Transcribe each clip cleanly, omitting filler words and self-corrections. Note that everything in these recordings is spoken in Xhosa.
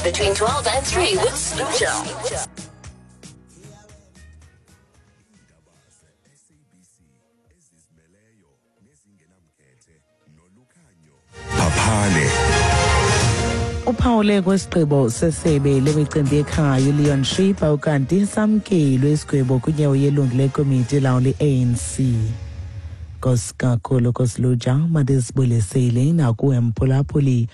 between 12 and 3 with Sluja. Phaphane. Uphawule kwesigqibo sesebe lemicimbi yekhaya uLeon Schreiber ukanti samkelwe isigwebo kwinyewo yelungu lekomiti elawula i-ANC. Nkosi kakhulu Kosiluja, mandisibulisele nakuwe mphulaphuli.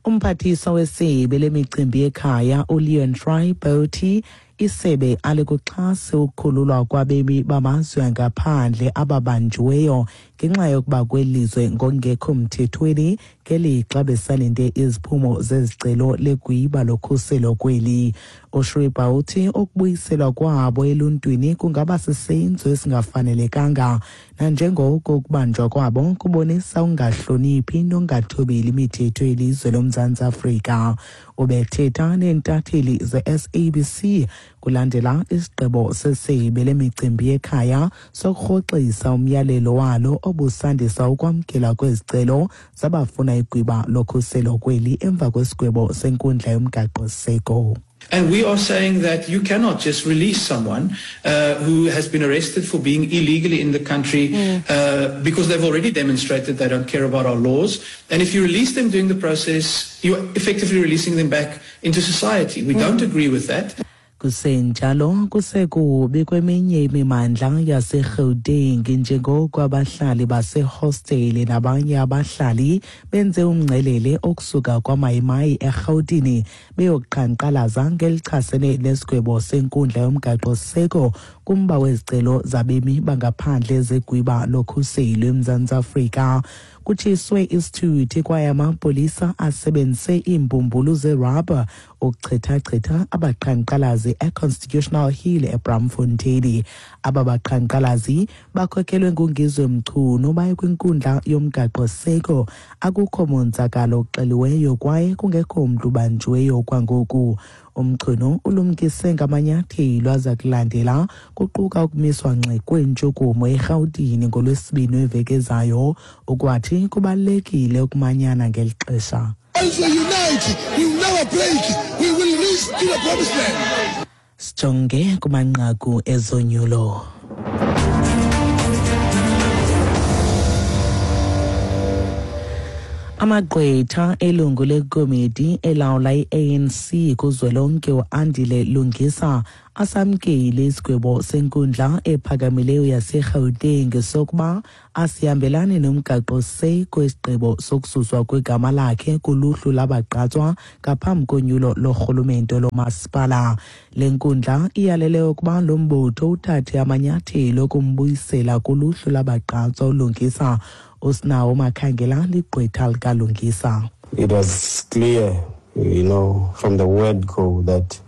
Umphathiswa wesebe lemicimbi yekhaya uLeon Schreiber uthi isebe alikuxhasi ukukhululwa kwabemi bamazwe angaphandle ababanjiweyo ngenxa yokuba kwelizwe ngokungekho mthethweni ngelixa besalinde iziphumo zezicelo legwiba lokhuselo kweli. USchreiber uthi ukubuyiselwa kwabo eluntwini kungaba sisenzo esingafanelekanga nanjengoko ukubanjwa kwabo kubonisa ukungahloniphi nokungathobeli imithetho yelizwe loMzantsi Afrika. Ubethetha neentatheli ze-SABC kulandela isigqibo sesebe lemicimbi yekhaya sokurhoxisa umyalelo walo obusandisa ukwamkelwa kwezicelo zabafuna igwiba lokhuselo kweli emva kwesigwebo senkundla yomgaqo-siseko. And we are saying that you cannot just release someone who has been arrested for being illegally in the country because they've already demonstrated they don't care about our laws. And if you release them during the process, you're effectively releasing them back into society. We don't agree with that. Kusenjalo kusekubi kweminye imimandla yaseGauteng njengoko abahlali basehostele nabanye abahlali benze umngcelele okusuka kwaMayimayi eRhawutini beyoqhankqalaza ngelichasene nesigwebo senkundla yomgaqo-siseko kumba wezicelo zabemi bangaphandle zegwiba lokhuselo eMzantsi Afrika. Kutshiswe isithuthi kwaye amapolisa asebenzise iimbumbulu zerabha ukuchithachitha abaqhankqalazi eConstitutional Hill eBraamfontein. Aba baqhankqalazi bakhokelwe nguNgizwe Mchunu baye kwinkundla yomgaqo-siseko. Akukho monzakalo uxeliweyo kwaye kungekho mntu ubanjiweyo kwangoku. UMchunu ulumkise ngamanyathelo aza kulandela kuquka ukumiswa ngxi kweentshukumo eRhawutini ngoLwesibini weveki ezayo. Ukwathi kubalulekile ukumanyana ngeli xesha. As we unite, we will never break. We will reach to the promised land. Sijonge kumanqaku ezonyulo. Amagqwetha elungu lekomiti elawula i-ANC kuzwelonke uAndile Lungisa asamkele isigwebo senkundla ephakamileyo yaseGauteng sokuba asihambelani nomgaqo-siseko isigqibo sokususwa kwegama lakhe kuluhlu labagqatswa ngaphambi konyulo lorhulumente lomasipala. Le nkundla iyalele ukuba lo mbutho uthathe amanyathelo okumbuyisela kuluhlu labagqatswa uLungisa. Usinawo Makhangela ligqwetha likaLungisa. It was clear, from the word go that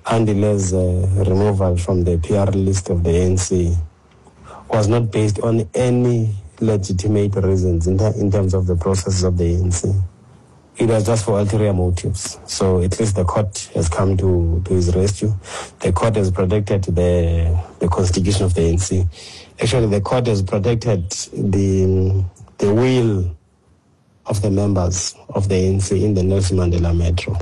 Andile's removal from the PR list of the ANC was not based on any legitimate reasons in terms of the processes of the ANC. It was just for ulterior motives. So at least the court has come to his rescue. The court has protected the constitution of the ANC. Actually, the court has protected the will of the members of the ANC in the Nelson Mandela Metro.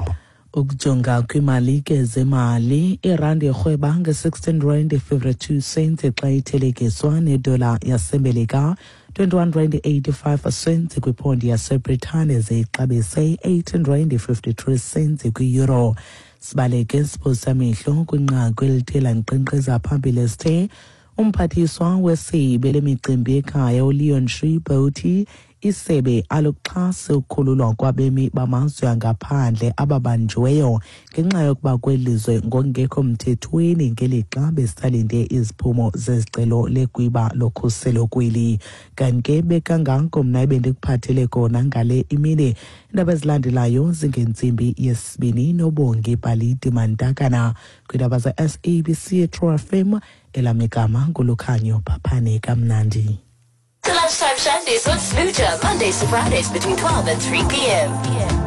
Ukujonga kwimali ke zemali, irandi irhweba nge-16 rand 52 cents xa ithelekiswa nedola yaseMelika, 21 rand 85 cents kwiphondi yaseBritane, ze ixabise 18 rand 53 cents kwi-euro. Sibaleke siphosa amehlo kwinqaku elithe lankqenkqeza phambili esithe umphathiswa wesebe lemicimbi yekhaya uLeon Schreiber uthi isebe aluxhasi ukukhululwa kwabemi bamazwe angaphandle ababanjiweyo ngenxa yokuba kwelizwe ngokungekho mthethweni ngelixa besalinde iziphumo zezicelo legwiba lokhuselo kweli. Kanti ke bekangako mna ebendikuphathele kona ngale imini. Iindaba ezilandelayo zingentsimbi yesibini noBongi Bhalidi Mantakana kwiindaba ze-SABC True FM. Elam igama nguLukhanyo Phaphane. Kamnandi. The Lunchtime Shandies with Smooja, Mondays to Fridays between 12 and 3 p.m.